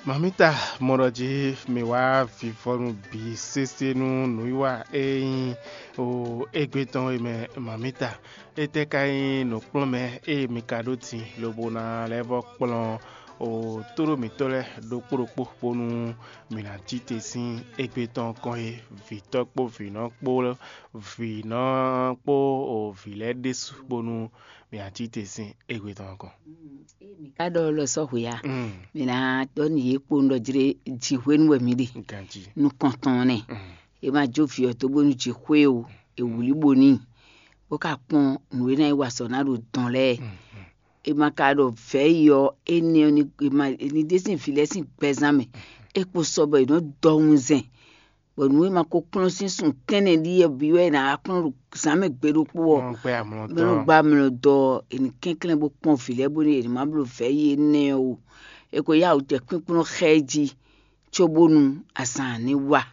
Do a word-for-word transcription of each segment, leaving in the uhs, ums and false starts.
Mamita mɔ ɖɔ jí mi wá vivɔnu bǐ sésé nú nǔwiwa e nyí o égbé tɔn é mɛ. Mamita, étɛ́ ka nyí nǔkplɔ́nmɛ e mi ka ɖó din lobo ná lɛ́ vɔ́ kplɔ́n o tóɖó mǐtɔn lɛ́ɛ ɖokpó ɖokpó bónú mǐ ná cí te sín égbé tɔn kɔn é? Vǐtɔ́ kpó vǐnɔ kpó vǐnɔ kpó o vǐ lɛ́ɛ ɖésú bónú mǐ ná cí te sín égbé tɔn kɔn. Ká ɖɔ lɔ sɔ́ hwe a? Mǐ ná ɖɔ nú yě kpowun ɖɔ jlé jǐ hwenu wɛ mǐ ɖe. Ganjí. Nukɔntɔn nɛ. È ma jó vǐ ɔ́ dó bónú jǐ xwé o, è wlǐ bo n'i, bó ka kpɔ́n nǔ e ná yi wa azɔ̌ ná ɖo dɔn lɛ́ɛ. È ma ka ɖɔ vɛ̌ yi ɔ́, énɛ́ ɔ́ ní è ma è ní ɖe sín vǐ lɛ́ɛ sín gbɛzán mɛ. É kpo sɔ bɔ è nɔ́ dɔ wunzɛn, bɔ nǔ e ma ko kplɔ́n sín sun tɛ́nnɛ ɖíe bǐ wɛ è nǎ wá kplɔ́n ɖo zǎn mɛ gbe ɖokpó ɔ́. Wọ́n gbé amlɔ bó nɔ́ dɔn. Gba amlɔ dɔ è nǐ kɛnklɛ́n bó kpɔ́n vǐ lɛ́ɛ bónú è nǐ má bló vɛ̌ yi énɛ́ ɔ́ o. È ko yá wǔ jɛ kpínkplɔ́n xá ɛ jí cóbónú azǎn ní wa.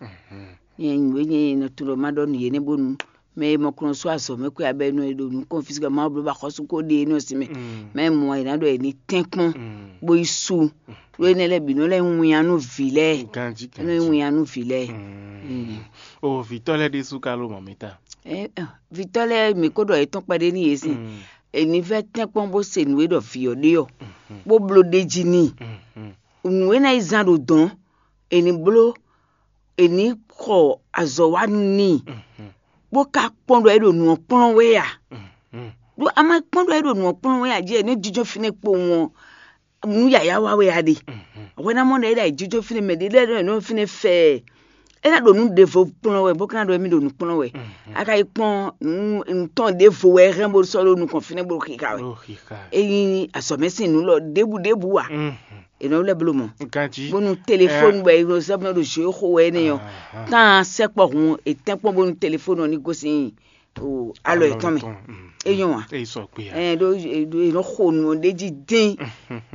Nyɛ nǔ e nyɛ nɔ tunwun ɖɔ ma ɖɔ nǔ yě nɛ́ bónú mɛ e mɔ kplɔ́n sú azɔ̌ mɛ xwé abɛ nɔ e ɖo nǔ kɔn físíkɛ Mawu bló ba xɔ́sú ko ɖe énɛ́ ɔ́ sin mɛ. Mɛ e mɔ è nǎ ɖɔ è ní tɛ́n kpɔ́n bó yi sú. Ɖó énɛ́ lɛ́ɛ bǐ nɔ lɛ́ winnyá nú vǐ lɛ́ɛ. Ganjí é nɔ ganjí. Winnyá nú vǐ lɛ́ɛ. Mm. O vǐtɔ́ lɛ́ɛ ɖésú ka ló mɔ mi ta. Ɛ, ɛ, vǐtɔ́ lɛ́ɛ mǐ ko ɖɔ yětɔn kpɛɖé nú yě sin. È ní vɛ́ tɛ́nkpɔ́n bó se nǔ e ɖɔ vǐ ɔ́ ɖe ɔ́, bó bló ɖ'é jí n'i. Nǔ e ná yi zán ɖo dɔ̌n, è ní bló, è ní xɔ azɔ̌ wa n'i, bó ka kpɔ́n ɖɔ é ɖo nǔ ɔ́ kplɔ́n wɛ a? Ɖó a ma kpɔ́n ɖɔ é ɖo nǔ ɔ́ kplɔ́n wɛ a jí è nǐ jínjɔ́n fínɛ́ kpowun ɔ́, nǔ yǎyá wa wɛ a ɖe? Hwɛ ná mɔ ɖɔ é ɖo ayǐjínjɔ́n fínɛ́ mɛ ɖé lɛ́ɛ ɖɔ nǔ fínɛ́ fɛ ɛ. É ná ɖo nǔ ɖěvo kplɔ́n wɛ bó ka ná ɖɔ émí ɖo nǔ kplɔ́n wɛ. A ka yi kpɔ́n nǔ tɔn ɖěvo wɛ é hɛn bó sɔ́ ɖó nukɔn fínɛ́ bó xixa wɛ. Ó xixa. É nyí azɔ̌mɛ sín nǔ lɔ ɖěbǔ ɖěbǔ ǎ. È nɔ lɛ́ bló mɔ. Ganjí. Bónú telefóni bɔ è nɔ zɔ́ bó nɔ ɖo zǒ xo wɛ énɛ́ ɔ́, tán sɛkpɔ hun è tɛ́nkpɔ́n bónú telefóni ɔ́ ní gosín o alɔ yětɔn mɛ. É nyɔ́ wa. Èyí sɔ kpé ya. Ɛ ɖó ɖó è nɔ xo nǔ ɔ́ ɖ'é jí dín.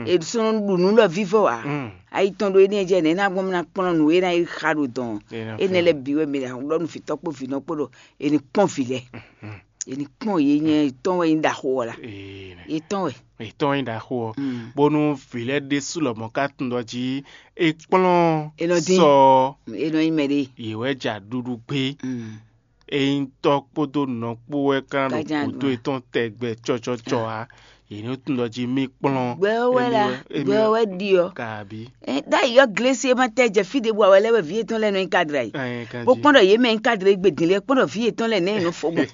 È sɔ́ nɔ ɖu nǔ lɔ vívɔ wa. Ayi tɔn ɖó énɛ́ jɛ nɛ̌ ná gbɔn ná kplɔ́n nǔ e ná yi xa ɖo dɔn. Énɛ́ lɛ́ɛ bǐ wɛ mi ɖɔ nú vǐtɔ́ kpó vǐnɔ kpó ɖɔ è ní kpɔ́n vǐ lɛ́ɛ. È ní kpɔ́n yě nyɛ tɔn wɛ nyí ɖaxó ɔ́ la. Yě tɔn wɛ. Ètò yin ɖaxó ɔ́, bónú vǐ lɛ́ɛ ɖésú lɔmɔ̌ ka tunwun ɖɔ jí é kplɔ́n È nɔ dín. Sɔ ɔ́, È nɔ nyí mɛ ɖé. Yě wɛ ja ɖuɖu gbé. Ényí tɔ́ kpódó nɔ kpó wɛ kán ɖo Kájá gǔdo nǔ. Etɔn tɛgbɛ cɔcɔcɔ ǎ, yě ní tunwun ɖɔ jí mì kplɔ́n. Gbɛ ɔ́ wɛ la, gbɛ ɔ́ wɛ ɖi ɔ. Kabi. Ɛ, ɖ'ayǐ ɔ́ glesi e ma tɛ jɛ fí ɖěbǔ ǎ wɛ lɛ́ wɛ vǐ yětɔn lɛ́ɛ nɔ nyí kadra yi. Ɛ, kanjí. Bó kpɔ́n ɖɔ yě mɛ nyí kadra yi gbedin lɛ́ɛ kpɔ́n ɖɔ vǐ yětɔn lɛ́ɛ nɛ̌ nɔ fɔ gbɔn.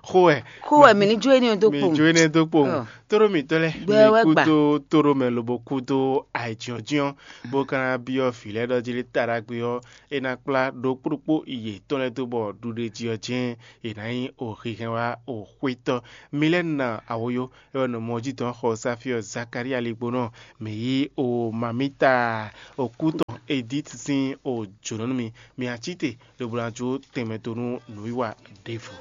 Xó wɛ. Xó wɛ mǐ ní jó énɛ́ dó kpowun. Mǐ jó énɛ́ dó kpowun. Ɔ. Tóɖó mǐtɔn lɛ́ɛ, Gbɛ mi wɛ kú gbà. Dó tóɖó mɛ lobo kú dó ayǐjínjɔ́n, bó ka ná byɔ́ vǐ lɛ́ɛ ɖɔ jí lé ta ɖagbe ɔ́, é ná kplá ɖokpó ɖokpó yětɔn lɛ́ɛ dó bɔ ɖuɖéjí ɔ́ jɛ́n è nǎ nyí oxihɛn wá oxwétɔ́. Mi lɛ́ na awoyó é wɛ nɔ mɔ jí dɔn xɔ Sáfíɔ Zakalía ligbónɔ, mǐ yí o mamíta okú tɔn Edíti sín o jǒnɔ nú mi. Mi acíte lobo ná jó tɛnmɛ dó nú nǔwiwa ɖěvo.